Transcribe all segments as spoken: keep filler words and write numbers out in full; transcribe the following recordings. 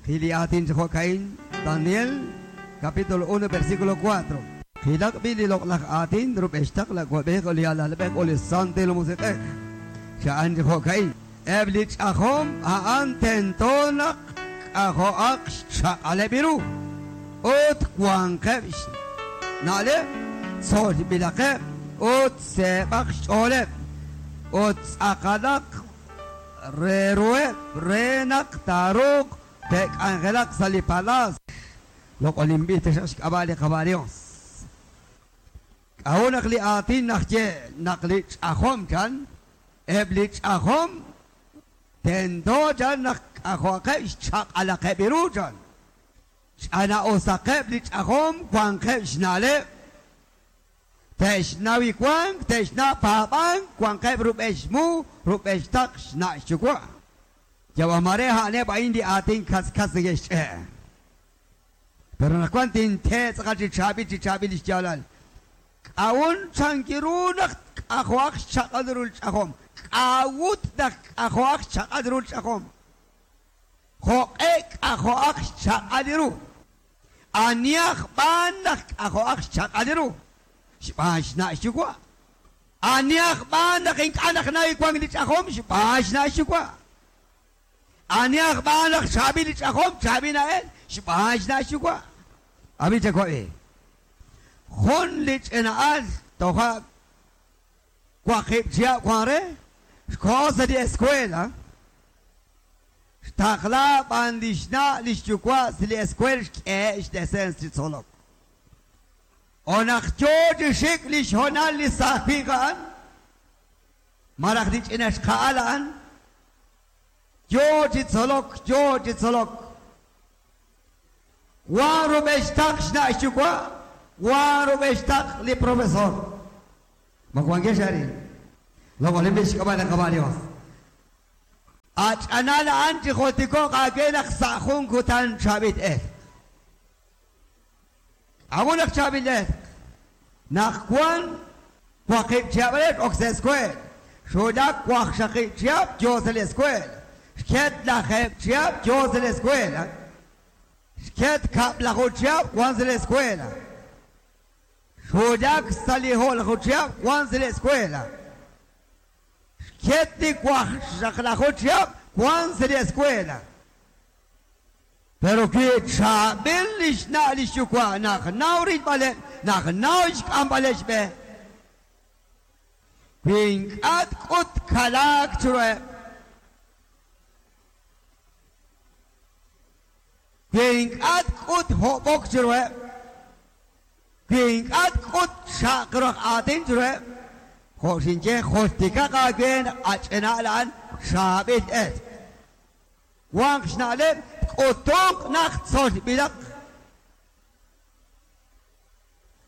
Jiliatin Jocaín, Daniel, capítulo uno, versículo cuatro. Jilak bili loklak atin, rubeshtak la kwabek oli alalbek oli santil musikek. Shaan Jocaín. Eblich ahom aan tentonak ahoak shakalebiru. Ut kwankeb nale sol bilake ut sebak sholeb ut akalak rerue renak taruk tek angelak salipalas. Lok olimbite shakabali kabalios. Ahunak li atin nakye naklich ahom chan eblich ahom tendo chan nak ahoake shak alakebiru chan. Ana osakeb lich ahom kwankeb shnale teshnawi kwank teshna pabank kwankeb rubeshmu rubeshtak shna shukwa. Yawamare hane ba indi atin kas kas geshe. Pero nakwantin te tsakachi chabi chabi lichalal. Aun chankirunak ahoak shakadrul chahom. Awut dak ahoak shakadrul chahom. Joek ahoak shakadiru. Aniach banak ahoak shakadiru. Shbashna shukwa. Aniach banak inkanak na ikwang lichahom. Shbashna shukwa. Aniach banak shabi lichahom. Shabi na el. Shbashna shukwa. Abi chakwa. Jun lich enaal toja kwakip chia kware. Cosa de escuela. Takla bandishna lishukwa sili escuela ke desens solok. Onak chod shik lishonal lisafigan. Marak dich inesh kaalan. Jod solok jod solok. Waru bestakshna shukwa. Waru bestak li profesor. Magwange shari. Logo limbish kabala kabalios. Ach anal anti khotiko qagelak sakhun kutan chabit eh. Agunak chabit eh. Nakwan waqib chabet ox square. Shodak waqshaqi chab josel square. Shket lakheb chab josel square. Shket kap lakho chab wanzel escuela. Shodak saliho lakho chab wanzel escuela. Ketli Juan se la escuela. Pero que chabelish na lishukwa nach naurit bale nach naush ambalesh be. Wink at kut kalak chure. Wink at kut hobok chure. Wink at kut shakrak atin chure. Josinche jostika again achenalan shabit et. Wang schnale otok nach zol bilak.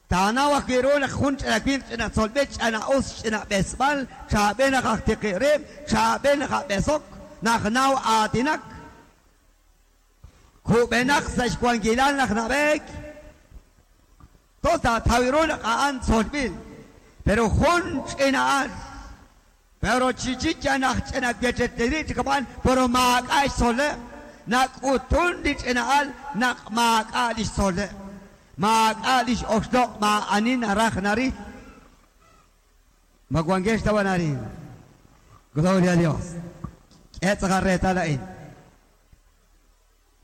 Tana wakirun khunch lakin na zolbech ana us na besbal shaben khtiqirib shaben khabesok nach naw atinak. Kubenak sashkwangilan nach nabek. Tota tawirun an zolbil. Pero junch enaal, pero chichicha nach enak gecheteri kaman, pero maak ay sole, nak utun dich enaal, nak maak alish sole, maak alish oxdok ma anin arach nari. Magwangesh tawanari. Gloria a Dios. Etzagarreta la in.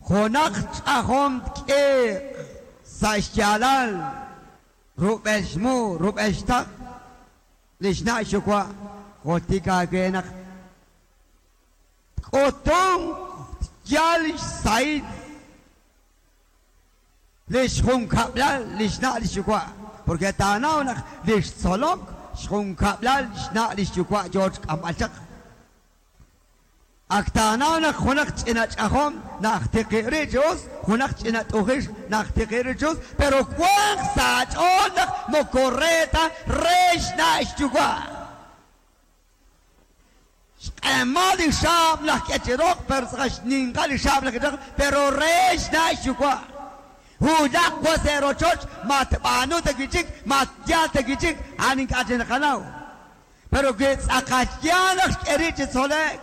Jonak ahom ke sashyalal rubeshmu rubeshtak. Lishna shukwa khotika genak otom yal said lish khun kablal lishna lishukwa porque tanawnak lish solok khun kablal lishna lishukwa George kamalchak aktanawnak khunak chinach ahom nakhtiqirijus khunak chinat uhish nakhtiqirijus pero kwang sach onak mokoreta reshna shukwa Shqemali shab lakhechirok pero shningali shab lakhechirok pero reshna shukwa Hudak waserochoch matbanu tagichik matyal tagichik anin kachin khanaw pero gets akatyanak erich solek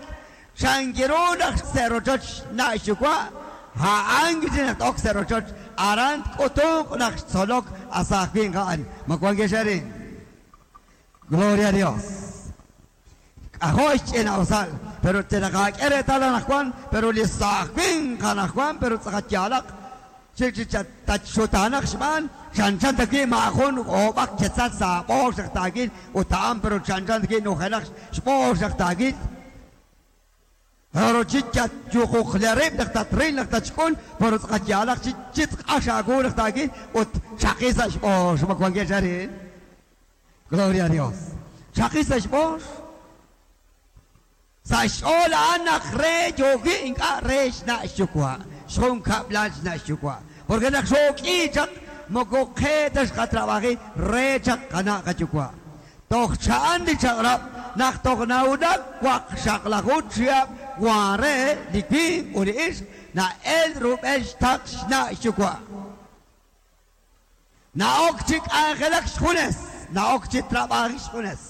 Shangirunak serochoch na shukwa Ha'an naq t'ok sa' rochoch aran k'utunq naq xtzolok asaaj winq a'an. Ma wankex arin. Gloria a Dios. K'ajo' xch'ina'usal, pero tenaqak'e reetal anaqwan, pero li saaj winq anaqwan, pero tz'aqat yaalaq tatxutanaq xb'aan chanchan ta wi' maajun oob'aq ketzal sa' b'oox naq taakil ut a'an pero chanchan ta wi' nujenaq xb'oox naq taakil. Pero chichatchuquqlerib naq tatril naq tatxk'ul, pero tz'aqat yaalaq chitzq'ax aawu naq taakil ut xaqi sa' xb'oox. Ma wankex arin. Gloria a Dios. Xaqi sa' xb'oox. Sa' xch'ool a'an naq re yooki ink'a' re xna' xyuwa'. Xjun kab'lal xna' xyuwa'. Porque naq xook'i chaq moko qe ta xqatrabaji re chaq qana' qayuwa'. Toj cha'an li chaq'rab' naq toj nawulak waqxaqlaju chihab' wan re li winq ut li ixq na'el rub'el xtaq xna' xyuwa'. Na'ok chi k'anjelak xjunes, na'ok chi trabaji xjunes.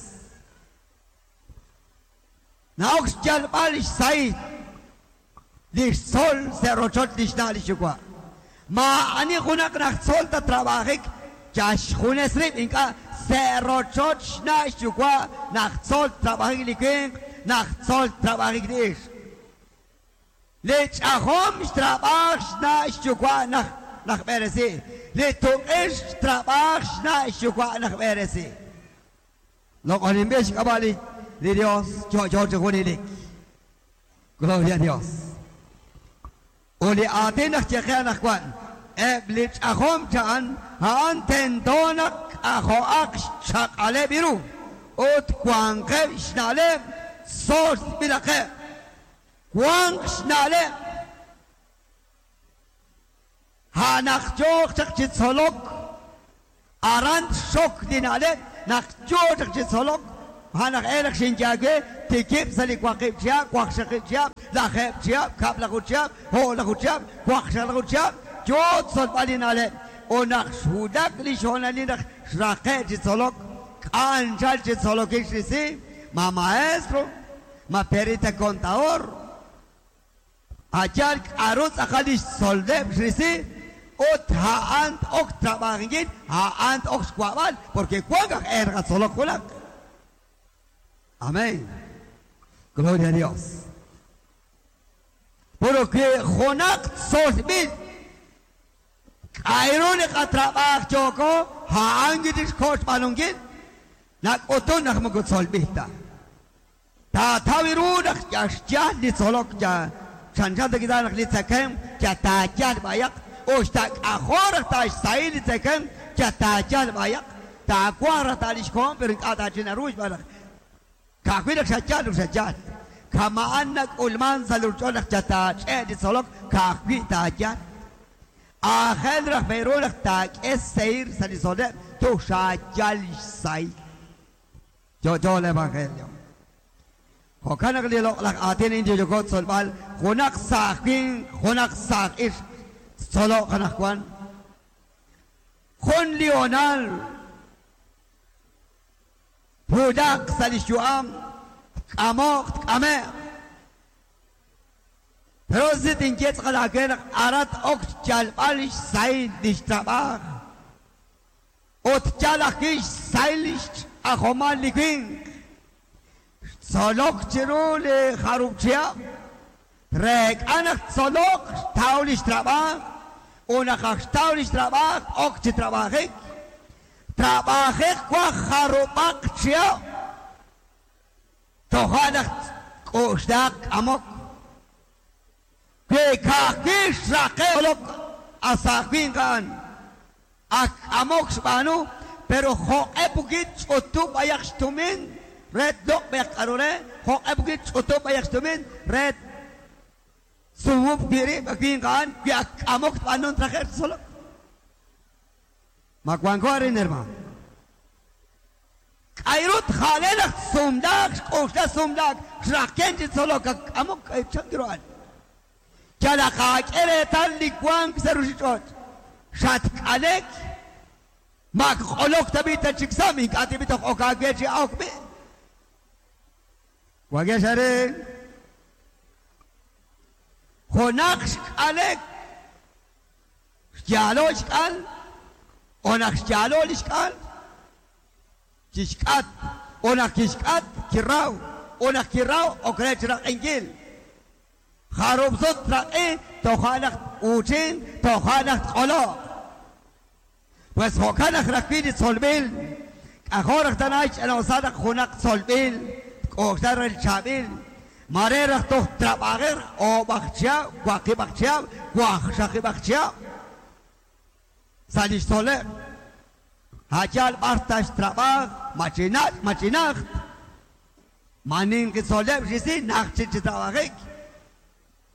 Na'ok xyalb'al xsahil li xtzol sa' rochoch li xna' li xyuwa'. Maa'ani junaq naq tzol ta trabajik ya xjunes rib' ink'a' sa' rochoch xna' xyuwa' naq tzol trabajik li winq, naq tzol trabajik li ixq. Li ch'ajom xtrabaj xna' xyuwa' naq naq b'eresi. Li tuq'ix xtrabaj xna' xyuwa' naq b'eresi. Loq'oninb'il xk'ab'a' li li Dios yo'yo chi junelik. Gloria a Dios. U li aatin naq yeqe anaqwan eb' li ch'ajom cha'an a'an tento naq k'ajo'aq xchaq'aleb' iru ut wanqeb' xna'leb' tzolb'ilaqeb'. Wanq xna'leb' ha'naq yooq chaq chi tzolok aran xok li na'leb' naq yoo chaq chi tzolok ha'naq elaq xinyaage tikib' sa' li waqib' chihab', waqxaqib' chihab', lajeb' chihab', kab'laju chihab', o'laju chihab', waqxaqlaju chihab', yoo tzolb'al li na'leb'. U naq xwulak li xhonalil naq xraqe' chi tzolok, k'anchal chi tzolokil xrisi, ma maestro, ma perita contador, ayal k'aru tz'aqal li xtzoleb' xrisi, ut ha'an ok trabajinkil, ha'an ok xwa'b'al, porque wank aj erqa tzolok junaq. Amén. Gloria a Dios. Porque junaq tzolb'il k'ayru li qatrab'aj yoko ha'an kitixkoch b'anunkil nak'utun naq moko tzolb'il ta. Taataw ru naq yaxyal li tzolok ya chanchan ta kita naq li tzakem ya taayal b'ayaq uxtak'ajor raj taxsahil li tzakem ya taayal b'ayaq taakuaj raj taalixkoon pero ink'a' taachinaru xb'aan naq ka'ajwi' naq xayal ut xayal. Kama'an nak'ulman sa' li ruuch'och naq yataach'e' li tzolok ka'ajwi' taayal. Aajel raj b'eru naq taak'e seir sa' li tzoleb' tuj xayal xsahil. Yo'yo el evangelio. Jo'kan naq li loq'laj aatin inyo yoko tzolb'al junaq saaj winq, junaq saaj ixq tzoloq anaqwan. Jun li honal twulaq sa' li xyu'am tk'amoq tk'ame'q. Pero si tinye tz'aqal aawe naq arat ok xyalb'al xsahil li xtrab'aj ut yal ajwi' xsahil li xch'ajomal li winq. Xtzolok chiru li jarub' chihab' reek'a naq tzolok xtaw li xtrab'aj u naq aj xtaw li xtrab'aj ok chi trab'ajik. Trab'ajik waj jarub'aq chihab' toja' naq k'uxlaq k'amok. Wi ka'ajwi' xraqe' tzolok asaaj winq a'an ak k'amok xb'aanu, pero jo'q'e pukit ch'utub' b'ayaq xtumin re tloq' b'ayaq k'aru re, jo'q'e pukit ch'utub' b'ayaq xtumin re sumub' wi' rib' winq a'an wi ak k'amok tb'anun traje' tzolok. Ma wanko arin hermano. K'ayrut ja'le naq sumlaak xk'uxla sumlaak xraqen chi tzolok ak k'amok chan ru a'an. Yalaq aak'e reetal li wank sa' ruuchich'och' xatk'alek mak q'olok tab'i tachiksam ink'a' tib'i toj ok aawe chi ok b'i'. Wakex arin. Junaq xk'alek Xyalo xk'al o naq xyalo li xk'al kixk'at o naq kixk'at kiraw o naq kiraw ok re chiraq'inkil jarub' sut traq'i toja' naq uuchin toja' naq tq'olo'. Pues jo'kan naq rajwi' li tzolb'il k'ajor raj tana xch'ina'usal naq junaq tzolb'il tk'oxla re li chaab'il mare raj toj trab'ajej oob'aj chihab' waqib'aj chihab' wajxaqib'aj chihab' sa' li xtzoleb' ha'yal b'ar taxtrab'aj machinach' machinajt maninqi tzoleb' xisi naj chik chi trab'ajik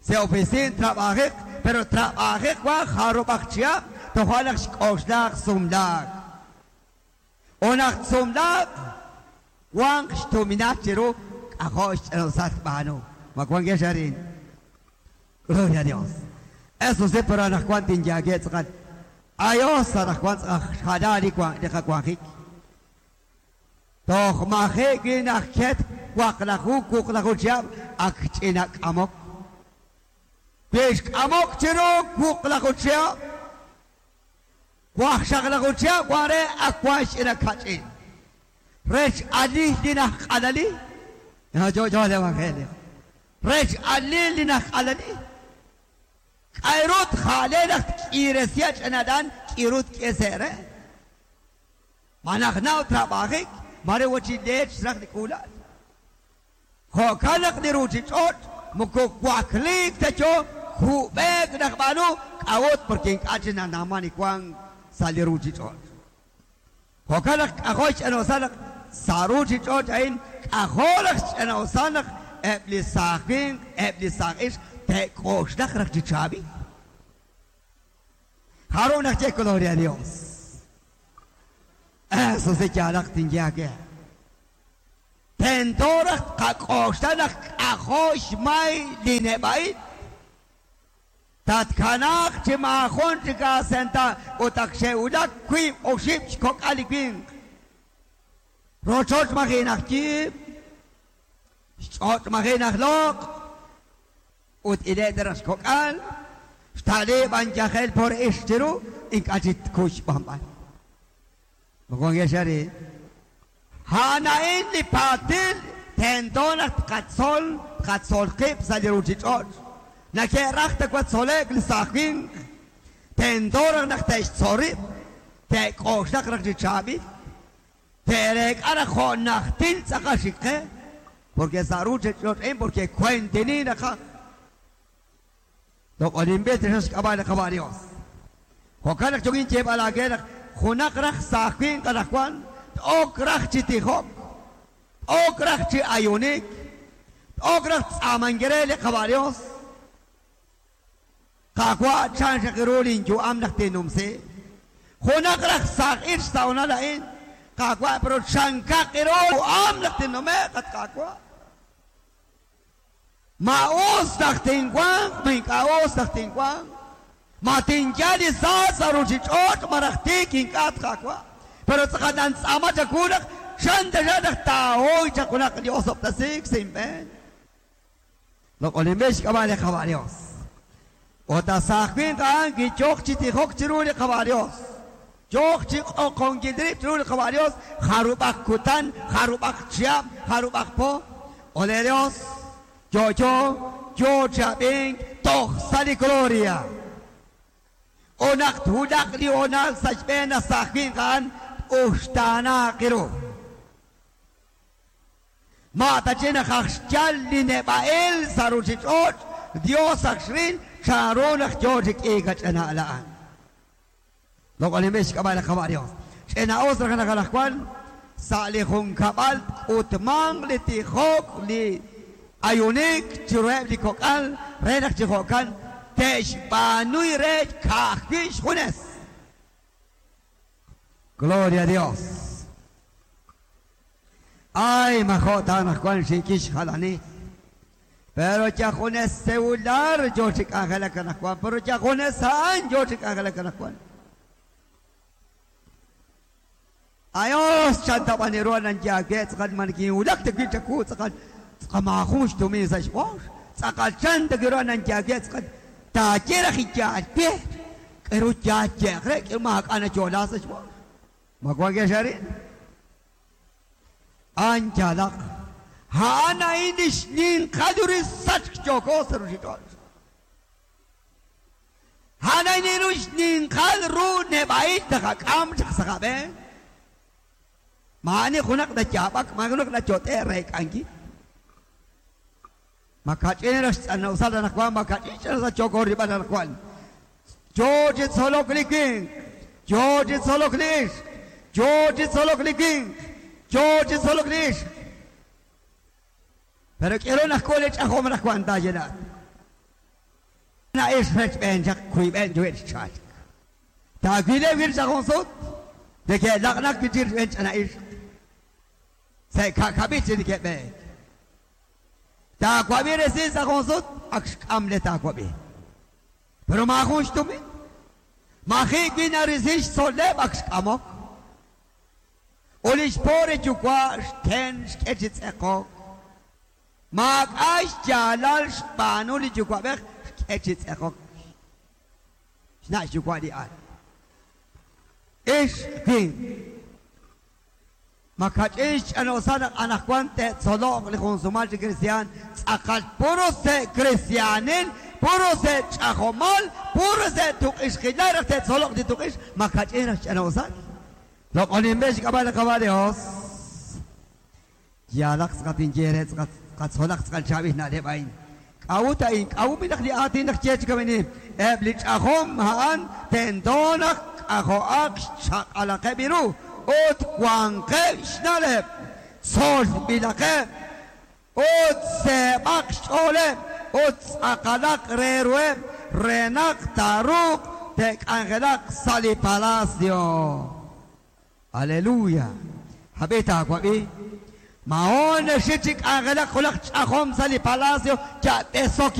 se oficin trab'ajik pero trab'ajik wa jarub'aj chihab' toja' naq xk'oxlaq sumlaak o naq sumlaak wanq xtuminal chiru k'ajor xch'ina'usal tb'aanu ma wankex arin. Gloria a Dios. Eso sí, pero anaqwan tinyaake tz'aqal ayos anaqwan tz'aj xjala li li qawanjik toj maji' wi naq ket waqlaju wuqlaju chihab' ak ch'ina k'amok wi xk'amok chiru wuqlaju chihab' wajxaqlaju chihab' wan re ak wan xch'ina kach'in rech alil li najq'alali yo yo el evangelio rech alil li najq'alali k'ayrut jale naq tk'iresya ch'inadan k'irut k'esere manaj naw trab'ajik mare wachi leech raj li k'ulal jo'kan naq li ruchich'och' moko wakliik ta yo jub'eek naq b'aanu k'awut porque ink'a' chi nanaman li wank sa' li ruchich'och' jo'kan naq k'ajor xch'ina'usal naq sa' ruchich'och' a'in k'ajor naq xch'ina'usal naq eb' li saaj winq eb' li saaj ixq te'k'oxlaq raj chi chaab'il. Jarub' naq ye gloria a Dios. Eso sí yaalaq tinyaake. Tento raj qak'oxla naq k'ajor xmay li neb'a'il tatkanaaq chi maajun chik aasenta ut ak xe'wulak wiib' oxib' xkok'al li winq rochoch maji' naq yiib' xch'och' maji' naq loq' ut ile' raj xkok'al xta'liib' anyajel por ix chiru ink'a' chi tkuy xb'anb'al. Mokonkex arin ha'ana'in li paatil tento naq tqatzol tqatzol qib' sa' li ruchich'och' nake'raj ta watzolek li saaj winq tento raj naq te'xtzol rib' te'k'oxlaq raj chi chaab'il te'reek'a raj jo' najtil tz'aqal xik qe porque sa' ruchich'och'in porque kuentini naqaj loq'olinb'il taxaq xk'ab'a' li qab'a' Dios. Jo'kan naq yokin yeeb'al aake naq junaq raj saaj winq anaqwan t'ok raj chi tijok t'ok raj chi ayunik t'ok raj tz'amankere li qab'a' Dios Qaqwa' chan xaq ru linyu'am naq tinumsi junaq raj saaj ix sa'onal a'in Qaqwa' pero chankaq ru am naq tinnume'q at Qaqwa' ma us naq tinwanq ma ink'a' us naq tinwanq ma tinyal li sa' sa' ruchich'och' maraj tiik ink'a' at Qaqwa' pero tz'aqal nantz'ama chaku naq xan taxaq naq taahoy chaq junaq li osob'tasik sa' inb'een loq'olinb'il xk'ab'a' li qab'a' Dios. Ut saaj winq a'an kiyoq chi tijok chiru li qab'a' Dios yoq chi q'oqonkil rib' chiru li qab'a' Dios jarub'aj kutan jarub'aj chihab' jarub'aj po ole Dios yo yo yo chab'ink toj sa' li gloria o naq twulaq li honal sa' xb'een saaj winq a'an uxtaanaaq ru ma tachi naq aj xyal li neb'a'il sa' ruchich'och' Dios ak xril chanru naq yo chi k'iik ach'ina'al a'an. Loq'olinb'il xk'ab'a' li qab'a' Dios. Ch'ina'us raj naq anaqwan sa' li junkab'al k'utmanq li tijok li ayunik chiruheb' li kok'al re naq chi jo'kan te'xb'aanuy re ka'ajwi' xjunes. Gloria a Dios. Ay, majo' ta anaqwan xinkix jalani. Pero ya junes celular yo chik angelak anaqwan pero ya junes a'an yo chik angelak anaqwan. Ayos chantab'aniru nanyaake tz'aqal mankinwulak tawi' chaku tz'aqal tz'aqamajun xtumin sa' xb'ox tz'aqal chan tawiru nanyaake tz'aqal taaye raj iyaal pie K'eru yaye'q re k'eru maak'a' nayo'la sa' xb'ool. Ma wankex arin? A'an yaalaq. A'an a'in li xninqal ru sachk yooko sa' ruuchich'och'. A'an a'in ru xninqal ru neb'a'il taqak'am chaq sa' qab'een. Maa'ani junaq nayaab'ak, maa'ani junaq nayot'e' reek'ankil. Makach'in ra xtz'anawsal anaqwan, makach'in xch'anawsal yooko rilb'al anaqwan. Yo chi tzolok li winq, yo chi tzolok li ixq, yo chi tzolok li winq, yo chi tzolok li ixq. Pero k'eru naq k'ul li ch'ajom anaqwan taayenaat. Na'ix rechb'een chaq kuyb'een yuwe' xchalk. Taawileb' wir ch'ajom sut, neke'laq'naq wi' chik rechb'een ch'ana ixq. Sa' ka'kab'il chi neke'b'eek. Taawab'i resil sa' jun sut, ak xk'am le taawab'i. Pero maajun xtumin. Maji' wi' narisi xtzol'leb' ak xk'amok. Ut li xpo're yuwa' xten xk'e chi tz'eqok. Maak'a' xyaalal xb'aanu li yuwa'b'ej xk'e chi tz'eqok. Xna' xyuwa' li al. Ix winq. Makach'in xch'anawsal naq anaqwan te'tzoloq li junsumal chi cristian tz'aqal puro se' cristianil, puro se' ch'ajomal, puro se' tuq'ixqilal raj te'tzoloq li tuq'ix, makach'in raj xch'anawsal. Loq'oninb'e xk'ab'a' li Qaawa' Dios. Yaalaq tz'aqat inye re tz'aqat qatzolaq tz'aqal chaab'il na'leb' a'in. K'a'ut a'in, k'a'ut naq li aatin naq ye chi kamini, eb' li ch'ajom a'an tento naq k'ajo'aq xchaq'alaqeb' ru ut wanqeb' xna'leb', tzolb'ilaqeb', ut seeb'aq xch'ooleb', ut tz'aqalaq re ruheb', re naq taaruuq te'k'anjelaq sa' li palacio. Aleluya. Hab'i taawab'i. Maon naxik chi k'anjelaq junaq ch'ajom sa' li palacio ya't'esok.